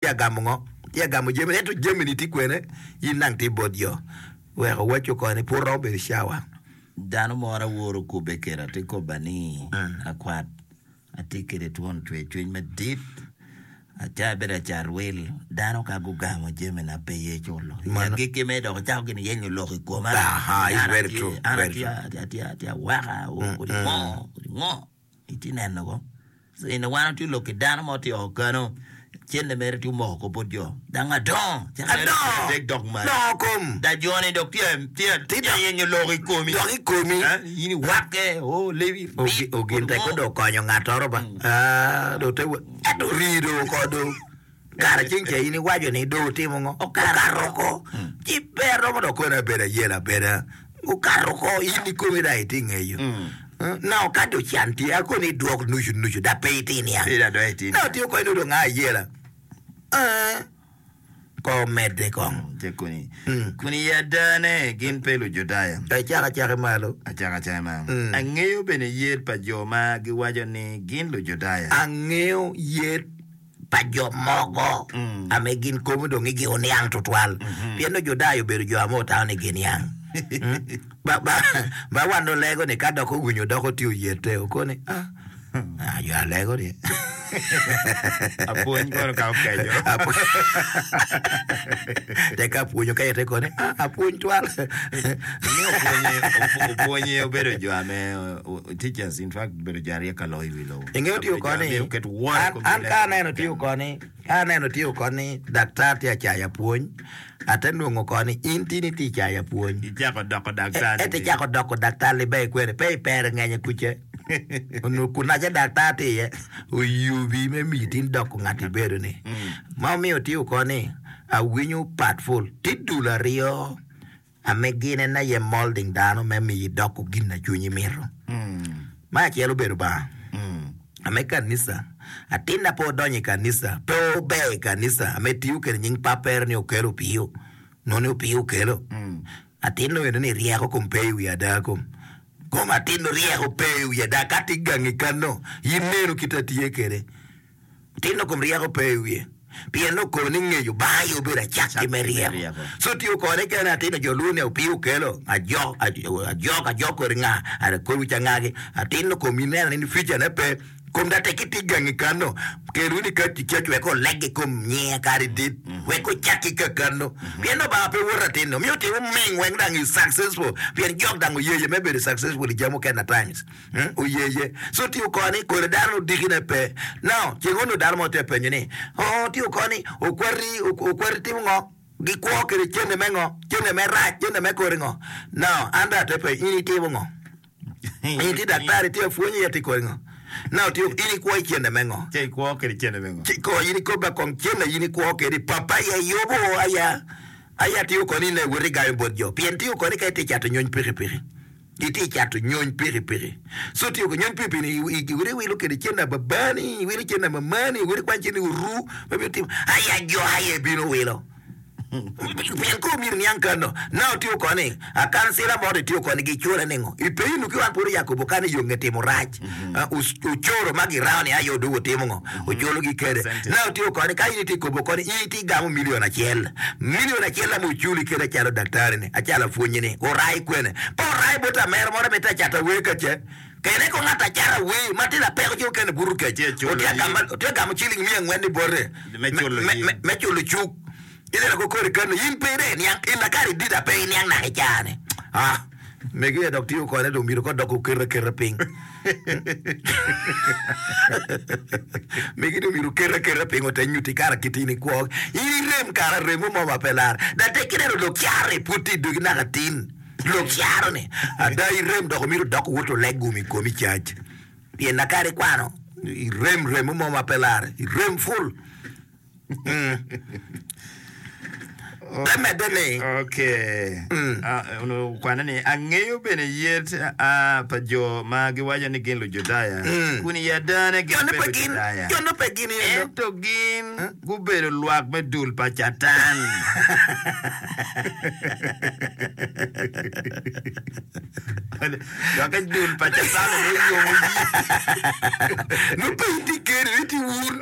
Tye agamo ngo? Tye agamo jami ento jami ni tye kwene? In nang tye bot jo. Wek owaco koni pud romo bedo cawa. Dano moro aworo okubbe keda tye kobba ni akwat atye kede twon cwer cwiny madit aca abedo acat wil dano ka gugamo jami na pe ye culo i agikki me dok ocako gin yenyo lok i koma an atye awaka kodi ngo kodi ngo. Itye neno ko? Eni wan watye lok ki dano mo tye oko kano, cente mere tye omoko ko bot jo. Dang adongo, cak mere Adongo! adek dok malo. Dongo kom! Da joni dok tye tye Tye tye yenyo lok i komi. Dok i komi. Eh, in iwakke, oh, lebi, Ogi- bit, Ogin tek ngo. dong okonyo ngattoro ba. Ah, dong te wa- Ento rii dong oko dong. Kara ceng ca in iwaco ni dong otimo ngo? Okato oko. Ci pe aromo dok kono abedo ayelo abeda. Okato oko, in ikomi dong itye ngeyo. Now ka dong can tye, akoni idwok nucu nucu dok pe itye niang. Now tye okonyo ni dong a ayela. Eh, ko medde kong. Tye kuni. Kun i adane gin pe Lujudaya. Icako acaka malo. Acako acaka malo. Angeyo bene yet pa jo ma giwaco ni gin Lujudaya. Angeyo yet pa jo mogo ame gin kobo dong igi oniang tutwal, pien nongo Judaya obedo jo ame otamo ni giniang. Ba, ba, ba wan olego ni ka dok owinyo dok otye oyete, oko ni, ah, ah, jo alego ni. Apwony kono ka okeco. Tek ka apwonyo ka ite koni, ah, apwony twal. Inge opwonye, opwonye obedo jo ame teachers in fact obedo jo aryek ka loyo i wi lobo. Ingeyo tiyo koni, an ka aneno tiyo koni, ka aneno tiyo koni, daktar tye acaya pwony, ate nongo koni in tini tye icaya pwony. Icako doko daktar. Ento icako doko daktar libe kwene, pe ipere ngenye kuce. Onongo kunaca daktar tye iye, oyubi me miyi tin doko ngat ibedo ni. Ma omiyo tiyo koni, awinyo pat ful. Tye dul aryo. Ame gin en aye molding dano me miyi doko gin na cwinyi mito. Me acel obedo Lubanga. Ame kanisa, atinna pe odonyo i kanisa, pe ober i kanisa, ame tiyo kede nying papere ni okelo opiyo, nongo ni opiyo okelo. Atinno eno ni ryeko kom pe i wi ada kom. Kom atinno ryeko pe i wi ada ka tye gangi kano, in neno kit atye kede. Tino kom ryeko pe i wiye, pien nongo kono ni ngeyo Lubanga aye obedo acakki me ryeko. Co tiyo kode kene atino jo luo ni opii okelo ajok ajok ajok kodi nga kor wic angagi atino kom ineno ni future ne pe kom da tek itye gangi kano kel wunu i church wek oleg i kom nyinge kadi dit wek ocakki ka kano pien Lubanga pe woto atino miyo timo ming weng dang i successful pien jok dang oyeye me bedo successful i jami mukene at times. Oyeye. So tiyo koni kodi dano odikine pe. Now, ceng onongo dano mo tye penyo ni, Oo, tiyo koni okwati, okwati timo ngo? Gikwo kede cente me ngo? Cente me rac, cente me kodi ngo? Now, an dong ate penyo, in itimo ngo? In itye daktari, itye apwony, iye tye kodi ngo? Now, tiyo, in ikwo i cente me ngo? Ce ikwo kede cente me ngo? Ci ko in ikobba kong cente in ikwo kede, papa aye yubo aya, aya tiyo koni in aye iwoto igayo bot jo. Pien tiyo koni ka itye cato nyony pikipiki. Itye cato nyony pikipiki. So tiyo ki nyony pikipiki ni iwilo iwilo kede cente babani, iwilo cente mamani, iwilo ikwany cente oru ma bino timo aya jo aye bino wilo. Pien kor myero niang kano. Now tiyo koni akansila mo to itiyo koni gicule ningo? I peyi nu ki wan pud oyakobo kano i yo nge timo rac. Ocoro ma girao ni aye odwogo timo ngo? Oculo gi kede. Now tiyo koni ka in itye kobo koni in itye gamo million acel. Million acel ame oculi kede acalo daktari ni, acalo apwonyi ni, orai kwene? Pe orai bot amera moro ame tye acato awer ka ce. Kene ko ngat acato awer ma tye lapeko ci okene buto kec. Otye gamo ciling miya angwen ni bote me culo cuk. Ineno ko kori kano in pe ide iniang in akare idida pe iniang naka i caa ni. Ah, megi aye dok tiyo kode dong myero ko dok oket aketa piny. Megi dong myero oket aketa piny ote nyuti kara kit in ikwo. In irem kara remo mo ma pe lar. Da tek ineno lok caro-ni pud tye i dogi naka tin. Lok caro-ni ada irem dok omyero dok owot oleg gum i komi cac. Pien akare ikwano irem remo mo ma pe lar. Irem ful. Pe medde ni. Okay. Ah, onongo okwane ni, Angeyo bene yet ah, pa jo ma giwaco ni gin Lujudaya, kun i adane gin Jo-nu pe pe gin, Lujudaya, jo-nu pe gin eno. ento gin gubedo lwak me dul pa Catan. Dok i dul pa Catan onongo yomo yi. Nongo pe itye keni, nongo itye wun.